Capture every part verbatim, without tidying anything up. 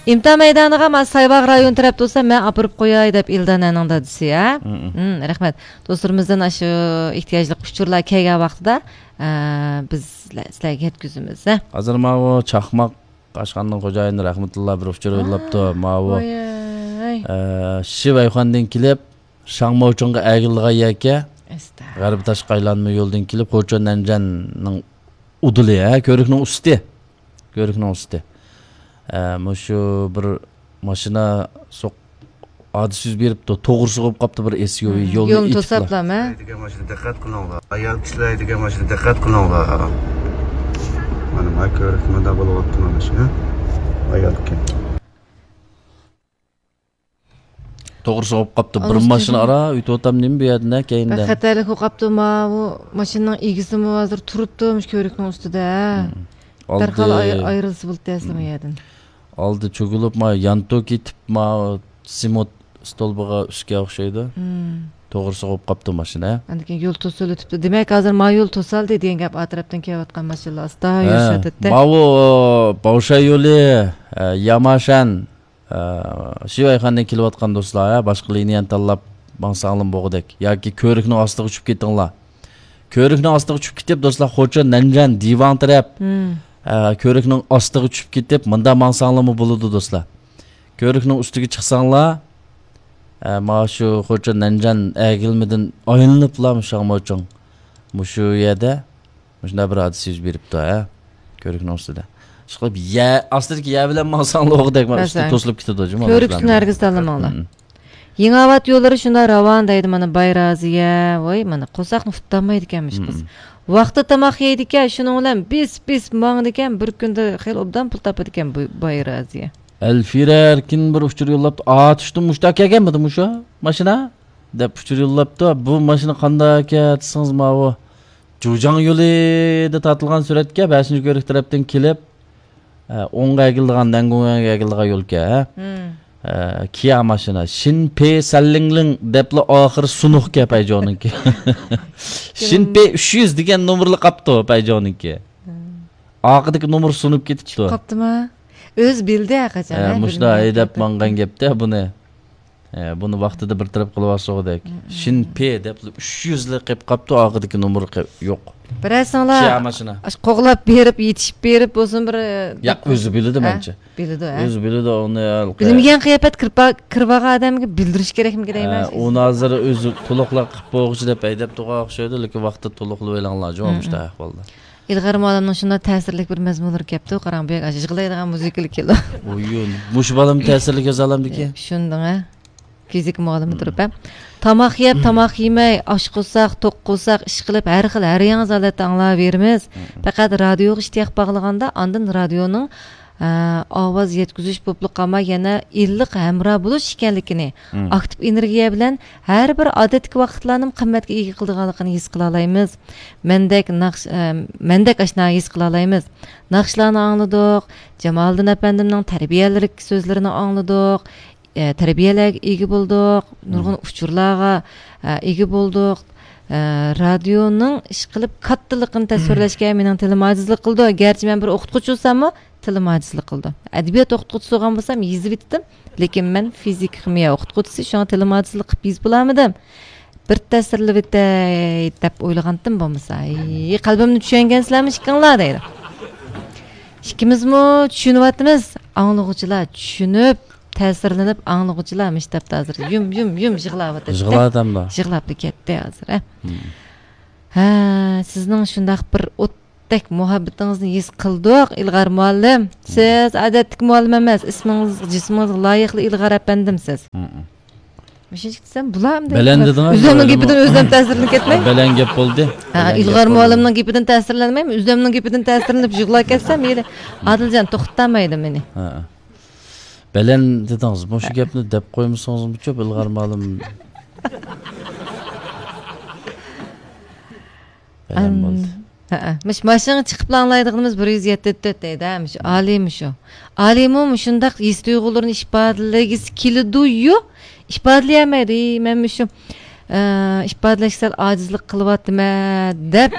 ئىمتىھان مەيدانىغا مانا سايباغ رايونى تەرەپتە بولسا، مەن ئاپىرىپ قوياي دەپ ئىلدانەنىڭ دادىسى، ھە؟ مم. مم، رەھمەت. دوستلىرىمىزدىن ئاشۇ ئېھتىياجلىق ئۇچۇرلار كەلگەن ۋاقتىدا، ئە، بىز سىلە-، سىلەرگە يەتكۈزىمىز، ھە؟ ھازىر ماۋۇ چاقماق ئاشخانىنىڭ خوجايىنى رەھمەتۇللا بىر ئۇچۇر يوللاپتۇ. ماۋۇ، ۋاي. ئە، شىۋەيخۇەندىن كېلىپ، شاڭماۋچىڭغا ئەگىلىدىغان يەركەن. ئەستە. غەربىي تاشقى ئايلانما يولدىن كېلىپ، خوچۇن نەنجەننىڭ ئۇدۇلى، ھە، كۆۋرۈكنىڭ ئۈستى. كۆۋرۈكنىڭ ئۈستى. ئە، مۇشۇ بىر ماشىنا سوق-، ھادىسە يۈز بېرىپتۇ، توغرا سوغۇپ قاپتۇ بىر ئېس يۇ ۋى. مم. يولنى يولنى ئېچىپلا. توساپلا، مە؟ دېگەن ماشىنا دىققەت قىلىڭلار. ئايال كىشىلەر دېگەن ماشىنا دىققەت قىلىڭلار. مانا، ما كۆۋرۈكتە مۇنداق بولۇۋاپتۇ، مانا شۇ. ئايال ئىكەن. توغرا سوغۇپ قاپتۇ. بىر ماشىنا ئارا ئۆتۈۋاتام نېمە بۇ يەردە، نە كەينىدە. خەتەرلىك بولۇپ قاپتۇ، ماۋۇ ماشىنىنىڭ ئىگىسىمۇ ھازىر تۇرۇپتۇ مۇشۇ كۆۋرۈكنىڭ ئۈستىدە. مم. دەرھال ئالدى ئاي-، ئايرىلسا بولدى ئەسلى بۇ يەردىن. ئالدى چۆگۈلۈپ، ما يانتۇ كېتىپ، ما سېمونت ستولبىغا ئۈسكە ئوخشايدۇ. مم. توغرا سوغۇپ قاپتۇ ماشىنا. ئاندىن كېيىن يول توسۇلۇۋېتىپتۇ. دېمەك، ھازىر ما يول توسالدى دېگەن گەپ ئا تەرەپتىن كېلىۋاتقان ماشىنىلار ئاستا ھە، يۈرۈشۈۋاتىدۇ. ماۋۇ باۋشاي يولى، ئە، ياماشەن، ئە، شىۋەيخەندىن كېلىۋاتقان دوستلار، ھە، باشقا لىنىيەنى تاللاپ ماڭساڭلىمۇ بولغۇدەك. ياكى كۆۋرۈكنىڭ ئاستىغا چۈشۈپ كېتىڭلار. كۆۋرۈكنىڭ ئاستىغا چۈشۈپ كېتىپ، دوستلار، خوچۇن نەنجەن دىۋاڭ تەرەپ، مم. ئە، كۆۋرۈكنىڭ ئاستىغا چۈشۈپ كېتىپ، مۇنداق ماڭساڭلارمۇ بولىدۇ، دوستلار. كۆۋرۈكنىڭ ئۈستىگە چىقساڭلار، ئە، مانا شۇ خوچۇن نەنجەن ئەگىلمىدىن ئايلىنىپلا شاڭماۋچىڭ. مۇشۇ يەردە مۇشۇنداق بىر ھادىسە يۈز بېرىپتۇ، ھە. كۆۋرۈكنىڭ ئۈستىدە. ئىشقىلىپ، يە-، ئاستىدىكى يەر بىلەن ماڭساڭلار ئوغدەك، مانا ئۈستى توسۇلۇپ كېتىدۇ، جۇمۇ. كۆۋرۈك ئۈستىنى ھەرگىز تاللىماڭلار. مم. يېڭىئاۋات يوللىرى شۇنداق راۋان دەيدۇ، مانا، بايرازىيە. ۋاي، مانا، قورساقنى ئۇتالمايدىكەنمىش قىز. مم. ۋاقتىدا تاماق يەيدىكەن، شۇنىڭ بىلەن بىس، بىس ماڭىدىكەن، بىر كۈندە خېلى ئوبدان پۇل تاپىدىكەن بۇ بايرازىيە. ئەلفىرە ئەركىن بىر ئۇچۇر يوللاپتۇ. ئاتۇشتىن مۇشتا كەلگەنمىدى مۇشۇ ماشىنا؟ دەپ ئۇچۇر يوللاپتۇ. بۇ ماشىنا قانداق ئىكەن دېسىڭىز، ماۋۇ جۇجاڭ يولىدا تارتىلغان سۈرەتكە، بەشىنچى كۆۋرۈك تەرەپتىن كېلىپ، ئە، ئوڭغا ئەگىلىدىغان، نەنگۇڭگە ئەگىلىدىغان يولكەن، ھە؟ مم. ئە، كىيا ماشىنا. شىن پې سەنلىڭلىڭ دەپلا ئاخىرى سۇنۇقكەن پەيجوڭنىڭكى. شىن پې ئۈچ يۈز دېگەن نومۇرلا قاپتۇ پەيجوڭنىڭكى. مم. ئارقىدىكى نومۇر سۇنۇپ كېتىپتۇ. چۈشۈپ قاپتىما؟ ئۆزى بىلدى ھە قاچان، ھە، مۇشۇنداق ھەيدەپ ماڭغان گەپتە بۇنى. ھە، بۇنى ۋاقتىدا بىر تەرەپ قىلىۋالسىغۇدەك. مم. شىن پې دەپلا ئۈچ يۈزلا قېپ قاپتۇ، ئارقىدىكى نومۇر قېپ-، يوق. بىرەرسىڭلار، كىيا ماشىنا. ئاشۇ قوغلاپ بېرىپ، يېتىشىپ بېرىپ بولسۇن بىر، ياق، ئۆزى بىلىدۇ ھە؟ مەنچە. بىلىدۇ، ھە؟ ئۆزى بىلىدۇ ئۇنى. بىلمىگەن قىياپەت كىرىپ، كىرىپ بارغان ئادەمگە بىلدۈرۈش كېرەكمىكىن دەيمەن. ھە، ئۇنى ھازىر ئۆزى تولۇقلاپ قىلىپ بولغۇچە دەپ ھەيدەپ تۇرغان ئوخشايدۇ، لېكىن ۋاقتىدا تولۇقلىۋېلىڭلار، جۇمۇ، مم، مۇشۇنداق ئەھۋالدا. ئىلغار مۇئەللىمنىڭ شۇنداق تەسىرلىك بىر مەزمۇنلىرى كەپتۇ، قاراڭ، بۇ يەرگە يىغلايدىغان مۇزىكىلار كېلىدۇ. ئويۇن. مۇشۇ بالىمۇ تەسىرلىك يازالامدىكى؟ شۇندىڭ ھە. فىزىكا مۇئەللىمى تۇرۇپ ھە. تاماق يەپ، تاماق يېمەي، ئاش قورساق، توق قورساق، ئىشقىلىپ، ھەر خىل، ھەر ياڭزا ھالەتتە ئاڭلاۋېرىمىز. مم. پەقەت رادىيوغا ئىشتىياق باغلىغاندا، ئاندىن رادىيونىڭ ئاۋاز يەتكۈزۈش بولۇپلا قالماي، يەنە ئىللىق ھەمراھ بولۇش ئىكەنلىكىنى، مم، ئاكتىپ ئېنېرگىيە بىلەن ھەر بىر ئادەتتىكى ۋاقىتلارنىمۇ قىممەتكە ئىگە قىلىدىغانلىقىنى ھېس قىلالايمىز. مەندەك ناخش-، ئە، مەندەك ئاشنا ھېس قىلالايمىز. ناخشىلارنى ئاڭلىدۇق، جامالىدىن ئەپەندىمنىڭ تەربىيەلىك سۆزلىرىنى ئاڭلىدۇق، ئە، تەربىيەلەرگە ئىگە بولدۇق، نۇرغۇن، مم، ئۇچۇرلارغا، ئە، ئىگە بولدۇق. ئە، رادىيونىڭ ئىشقىلىپ كاتتىلىقىنى تەسۋىرلەشكە مېنىڭ تىلىم ئاجىزلىق قىلىدۇ. گەرچە مەن بىر ئوقۇتقۇچى بولساممۇ، تىلىم ئاجىزلىق قىلىدۇ. ئەدەبىيات ئوقۇتقۇچىسى بولغان بولسام يېزىۋېتىتتىم، لېكىن مەن فىزىكا خىمىيە ئوقۇتقۇچىسى، شۇڭا تىلىم ئاجىزلىق قىلىپ يېزىپ بولالمىدىم. بىر تەسىرلىۋېتەي دەپ ئويلىغانتىم بولمىسا. ھەي، قەلبىمنى چۈشەنگەنسىلەرمۇ ئىككىڭلار دەيدۇ. ئىككىمىزمۇ چۈشىنىۋاتىمىز، ئاڭلىغۇچىلار چۈشىنىپ، تەسىرلىنىپ، ئاڭلىغۇچىلار مۇشۇ تاپتا ھازىر يۇم، يۇم، يۇم يىغلاۋاتىدۇ. يىغلاۋاتامدۇ؟ يىغلاپلا كەتتى ھازىر، ھە. مم. ھە، سىزنىڭ شۇنداق بىر ئوت دەك مۇھەببىتىڭىزنى ھېس قىلدۇق، ئىلغار مۇئەللىم. سىز ئادەتتىكى مۇئەللىم ئەمەس، ئىسمىڭىز، جىسمىڭىزغا لايىقلا ئىلغار ئەپەندىم سىز. مۇشۇنچە دېسەم بۇلامدۇ؟ بەلەن دېدىڭىز، ئۆزۈمنىڭ گېپىدىن ئۆزۈم تەسىرلىنىپ كەتمەي. بەلەن گەپ بولدى. ھە، بەلەن گەپ ئىلغار بولدى. مۇئەللىمنىڭ گېپىدىن تەسىرلەنمەيمەن، ئۆزۈمنىڭ گېپىدىن تەسىرلىنىپ يىغلاپ كەتسەم، يەنە ئادىلجان توختىتالمايدۇ مېنى. ھە. بەلەن دېدىڭىز، مۇشۇ گەپنى دەپ قويمىسىڭىزمۇچۇ، ئىلغار مۇئەللىم. بەلەن بولدى. ھەئە. مۇشۇ ماشىنىغا چىقىپلا ئاڭلايدىغىنىمىز بىر يۈز يەتتە تۆت دەيدۇ، ھە، مۇشۇ ئالىي مۇشۇ. ئالىيمۇ مۇشۇنداق ھېس تۇيغۇلىرىنى ئىپادىلىگۈسى كېلىدۇ-يۇ، ئىپادىلىيەلمەيدۇ. ئى، مەن مۇشۇ ئىپادىلەشكە سەل ئاجىزلىق قىلىۋاتىمەن دەپ،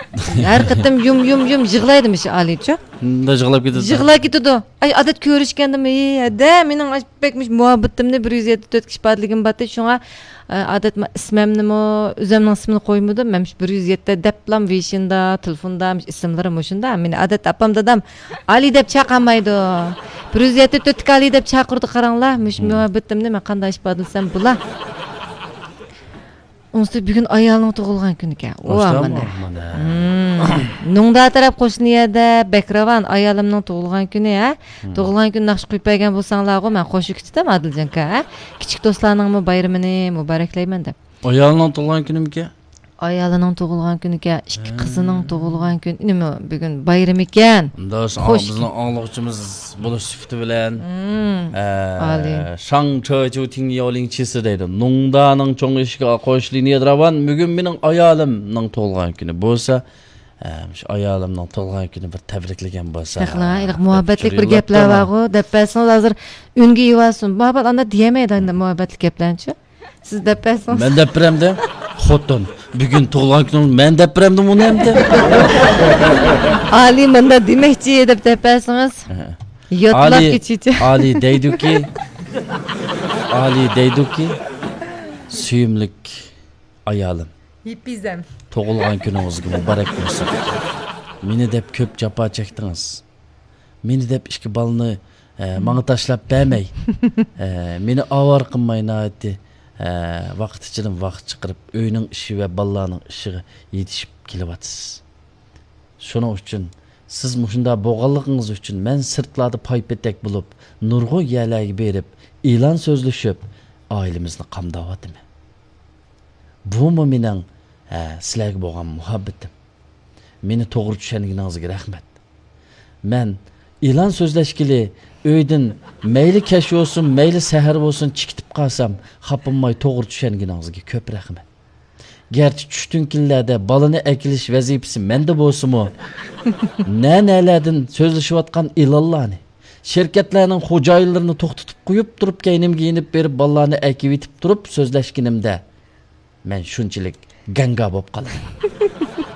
ھەر قېتىم يۇم يۇم يۇم يىغلايدۇ مۇشۇ ئالىيچۇ. شۇنداق يىغلاپ كېتىدۇ. يىغلاپ كېتىدۇ. ئاي، ئادەت كۆرۈشكەندىمۇ، ھەدە، مېنىڭ بەك مۇشۇ مۇھەببىتىمنى بىر يۈز يەتتە تۆتكە ئىپادىلىگىم بارتى، شۇڭا ئادەت ئىسمىمنىمۇ، ئۆزۈمنىڭ ئىسمىنى قويمىدىم. مەن مۇشۇ بىر يۈز يەتتە دەپلا ۋېيشىندا، تېلېفوندا مۇشۇ ئىسىملىرىم مۇشۇنداق. مېنى ئادەت ئاپام، دادام ئالىي دەپ چاقىرمايدۇ. بىر يۈز يەتتە تۆتتىكى ئالىي دەپ چاقىرىدۇ، قاراڭلار. مۇشۇ مۇھەببىتىمنى مەن قانداق ئىپادىلىسەم بولا. ئۇنسى بۈگۈن ئايالنىڭ تۇغۇلغان كۈنىكەن. ئۇ مانا. نۇڭدا تەرەپ قوشنا يەردە بەك راۋان، ئايالىمنىڭ تۇغۇلغان كۈنى، ھە؟ تۇغۇلغان كۈنى ناخشا قويۇپ بەرگەن بولساڭلارغۇ، مەن قوشۇپ كېتىتەم، ئادىلجانكا، ھە؟ كىچىك دوستلارنىڭمۇ بايرىمىنى مۇبارەكلەيمەن دەپ. ئايالنىڭ تۇغۇلغان كۈنىمىكەن؟ ئايالىنىڭ تۇغۇلغان كۈنىكەن، ئىككى قىزىنىڭ تۇغۇلغان كۈنى. نېمە، بۈگۈن بايرىمىكەن. خوش. بىزنىڭ ئاڭلىغۇچىمىز بولۇش سۈپىتى بىلەن، ئە، شاڭ چېچۇ تىڭ ياۋلىڭ چىسى دەيدۇ. نۇڭدانىڭ چوڭ ئېشىكىغا قوشۇلۇپ يېدىراۋان، بۈگۈن مېنىڭ ئايالىمنىڭ تۇغۇلغان كۈنى بولسا، ئە، شۇ ئايالىمنىڭ تۇغۇلغان كۈنى بىر تەبرىكلىگەن بولسا، مۇھەببەتلىك بىر گەپلەر بارغۇ، دەپ بەرسىڭىز، ھازىر ئۈنگە ئېۋالسۇن. مۇھەببەت ئانداق دېيەلمەيدۇ، ئانداق مۇھەببەتلىك گەپلەرنىچۇ. سىز دەپ بەرسىڭىز. مەن دەپ بېرەمدە؟ خوتۇن، بۈگۈن تۇغۇلغان كۈنۈڭ، مەن دەپ بېرەمدىم ئۇنى ئەمدى؟ ئالىي مۇنداق دېمەكچى دەپ، دەپ بەرسىڭىز. ياتلاپ كېچىچە. ئالىي دەيدۇكى، ئالىي دەيدۇكى، سۆيۈملۈك ئايالىم، يىپىزەم، تۇغۇلغان كۈنىڭىزگە مۇبارەك بولسۇن. مېنى دەپ كۆپ جاپا چەكتىڭىز. مېنى دەپ ئىككى بالىنى، ئە، ماڭا تاشلاپ بەرمەي، ئە، مېنى ئاۋارە قىلماي، ناھايىتى، ئە، ۋاقىت ئىچىدىن ۋاقىت چىقىرىپ، ئۆينىڭ ئىشى ۋە بالىلارنىڭ ئىشىغا يېتىشىپ كېلىۋاتىسىز. شۇنىڭ ئۈچۈن، سىز مۇشۇنداق بولغانلىقىڭىز ئۈچۈن مەن سىرتلاردا پاي-پېتەك بولۇپ، نۇرغۇن يەرلەرگە بېرىپ، ئېلان سۆزلىشىپ، ئائىلىمىزنى قامداۋاتىمەن. بۇمۇ مېنىڭ، ھە، سىلەرگە بولغان مۇھەببىتىم. مېنى توغرا چۈشەنگىنىڭىزگە رەھمەت. مەن ئېلان سۆزلەشكىلى ئۆيدىن مەيلى كەچ بولسۇن، مەيلى سەھەر بولسۇن، چىقىپ قالسام، خاپىماي توغرا چۈشەنگىنىڭىزگە كۆپ رەھمەت. گەرچە چۈشتۈن كۈنلەردە بالىنى ئەكېلىش ۋەزىپىسى مەندە بولسىمۇ، نە-نەلەردىن سۆزلىشىۋاتقان ئېلانلارنى، شىركەتلەرنىڭ خوجايىنلىرىنى توختىتىپ قويۇپ تۇرۇپ، كەينىمگە يېنىپ بېرىپ، بالىلارنى ئەكېۋېتىپ تۇرۇپ سۆزلەشكىنىمدە، مەن شۇنچىلىك گاڭگا بولۇپ قالدىم.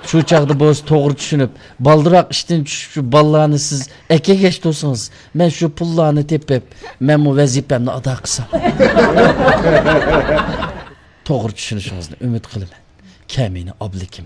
شۇ چاغدا بولسا توغرا چۈشىنىپ، بالدۇرراق ئىشتىن چۈشۈپ، شۇ بالىلارنى سىز ئەكەلگەچ تۇرسىڭىز، مەن شۇ پۇللارنى تېپىپ، مەنمۇ ۋەزىپەمنى ئادا قىلسام. توغرا چۈشىنىشىڭىزنى ئۈمىد قىلىمەن. كەمىنە ئابلىكىم.